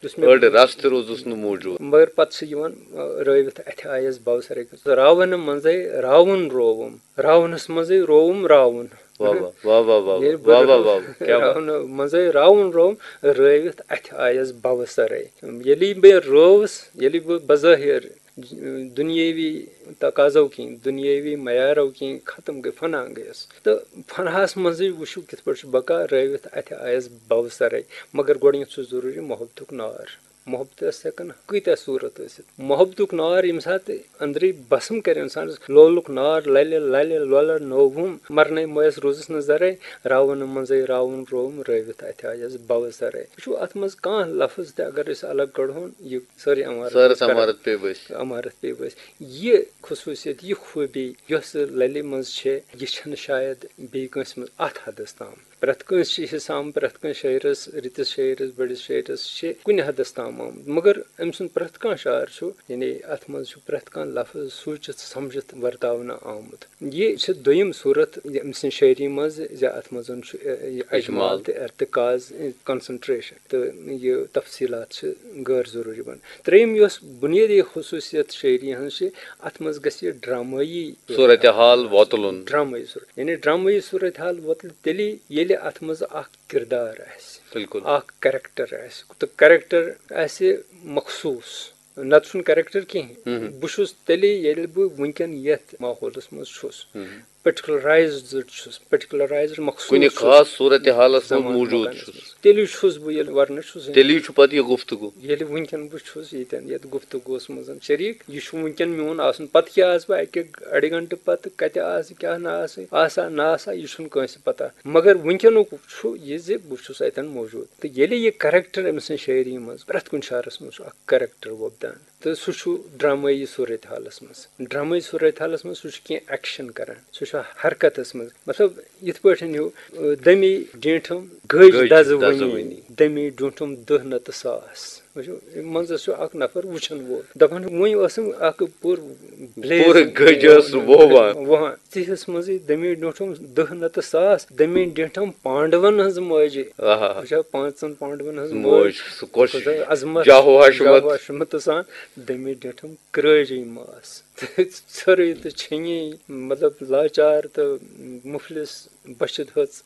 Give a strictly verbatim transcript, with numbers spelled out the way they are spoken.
یُس مےٚ أڑ رَس تہِ روٗزُس نہٕ موٗجوٗد۔ مگر پَتہٕ چھِ یِوان، آ، رٲوِتھ اَتھِ آیَس بَو سَرَے۔ راوَنہٕ منٛزَے راوُن رووُم، راونَس منٛزٕے رووُم راوُن۔ واہ، واہ، واہ، واہ، واہ، ییٚلہِ واہ، واہ، بہٕ واہ، واہ، کیٛاہ واہ۔ راونہٕ منٛزَے راوُن رووُم، رٲوِتھ اَتھِ آیَس بَوٕ سَرَے۔ ییٚلہِ بہٕ رٲوٕس، ییٚلہِ بہٕ بظٲہِر دُنیٲوی تقاضو کِنۍ، دُنیٲوی معیارو کِنۍ ختم گٔے، فنا گٔیَس۔ تہٕ فناہَس منٛزٕے وٕچھِو کِتھ پٲٹھۍ چھُ بقا، رٲوِتھ اَتھِ آیَس بَوٕ سَرَے۔ مگر گۄڈٕنٮ۪تھ چھُ ضروٗری محبتُک نار۔ محبتَس ہٮ۪کَن کۭتیٛاہ صوٗرت ٲسِتھ۔ محبتُک نار ییٚمہِ ساتہٕ أنٛدرٕے بسم کَرِ اِنسانَس، لولُک نار لَلہِ لَلہِ لۄلَر نووُم، مرنے مٲیَس روٗزٕس نہٕ زَرَے، راوُن منٛزَے راوُن رووُم، رٲوِتھ اَتھِ آیَس بَوٕ سَرَے۔ وٕچھِو، اَتھ منٛز کانٛہہ لفظ تہِ اگر أسۍ الگ کَڑہون، یہِ سٲرٕے عمارت سٲرٕس کران۔ عمارت پیٚیہِ ؤسۍ۔ عمارت پیٚیہِ ؤسۍ۔ یہِ خصوٗصیت، یہِ خوٗبی یۄس لَلہِ منٛز چھےٚ، یہِ چھَنہٕ شاید بیٚیہِ کٲنٛسہِ منٛز اَتھ حدس تام۔ پرٛٮ۪تھ کٲنٛسہِ چھِ حِصہٕ آمُت، پرٛٮ۪تھ کٲنٛسہِ شٲعرَس، رٕتِس شٲعرَس، بٔڑِس شٲعرَس چھِ کُنہِ حدس تام آمُت، مگر أمۍ سُنٛد پرٛٮ۪تھ کانٛہہ شعر چھُ، یعنی اَتھ منٛز چھُ پرٛٮ۪تھ کانٛہہ لفظ سوٗنٛچِتھ سَمجِتھ ورتاونہٕ آمُت۔ یہِ چھِ دوٚیِم صوٗرت أمۍ سٕنٛزِ شٲعری منٛز زِ اَتھ منٛز چھُ، اَ، یہِ اجمال اجمال۔ تہٕ ارتکاز، concentration تہٕ یہِ تفصیٖلات چھِ غٲر ضروٗری بنان۔ ترٛیٚیِم یۄس بُنیٲدی خصوٗصیت شٲعری ہٕنٛز چھِ، اَتھ منٛز گژھِ یہِ ڈرامٲیی صورتحال وۄتلُن۔ ڈرامٲیی صورت، یعنی ڈرامٲیی صورتحال وۄتلہِ تیٚلی، ییٚلہِ اَتھ منٛز اکھ کردار آسہِ، بِلکُل۔ اکھ character آسہِ۔ تہٕ character آسہِ مخصوٗص، نتہٕ چھُنہٕ character کِہیٖنۍ۔ ہُم۔ بہٕ چھُس تیٚلے، ییٚلہِ بہٕ وٕنکیٚن یتھ ماحولس منٛز چھُس، ہُم۔ Particularized چھُس، particularized مخصوٗص کُنہِ چھُس۔ خاص صورت حالس منٛز زمان موٗجوٗد مکانس چھُس۔ منٛز۔ تیٚلہِ چھُس بہٕ ییٚلہِ ورنہٕ چھُس۔ تیٚلی چھُ پتہٕ یہِ گفتگو۔ ییٚلہِ وٕنکیٚن بہٕ چھُس ییٚتٮ۪ن، یتھ گفتگوس منٛز شریٖک، یہِ چھُ وٕنکیٚن میون آسُن۔ پتہٕ کیٛاہ آسہٕ بہٕ اکہِ اڑِ گنٹہٕ پتہٕ، کتہِ آسہٕ، کیٛاہ نہٕ آسہٕ، آسا نہ آسا، یہِ چھُنہٕ کٲنٛسہِ پتہ۔ مگر وٕنکیٚنُک چھُ یہِ زِ بہٕ چھُس اتٮ۪ن موٗجوٗد۔ تہٕ ییٚلہِ یہِ character أمۍ سٕنٛز شٲعری منٛز، پرٛٮ۪تھ کُنہِ شعرس منٛز چھُ اکھ character وۄپدان۔ تہٕ سُہ چھُ ڈرامٲیی صورت حالس منٛز۔ ڈرامٲیی صورت حالس منٛز سُہ چھُ کینٛہہ action کران، سُہ چھُ حرکتس منٛز۔ مطلب، یِتھ پٲٹھۍ ہیوٗ، دٔمی ڈینٛٹھم گٔج گٔج دزٕ دزٕ وٕنی، وٕنی۔ دٔمی ڈیوٗنٛٹھم دٔہ نتہٕ ساس۔ وٕچھِو، منٛزس چھُ اکھ نفر وٕچھن وول۔ دپان چھُ، وۄنۍ ٲسٕم اکھ پوٗرٕ blaze پوٗرٕ گٔج ٲس ووان۔ ووان۔ تِہس منٛزٕے دٔمی ڈیوٗنٛٹھم دٔہ نتہٕ ساس، دٔمی ڈینٛٹھم پانڈون ہٕنٛز مٲجہِ۔ آہا۔ وٕچھا، پانٛژن پانڈون ہٕنٛز موج، مٲج۔ سُہ کۄس خۄدا عظمت، جاہو حشمت۔ جاہو حشمت سان دٔمی ڈینٛٹھم کرٲجی ماس۔ تہٕ ژھرٕے تہٕ چھٔنی، مطلب، لاچار تہٕ مُفلِس بٔچھِ دھٔژ۔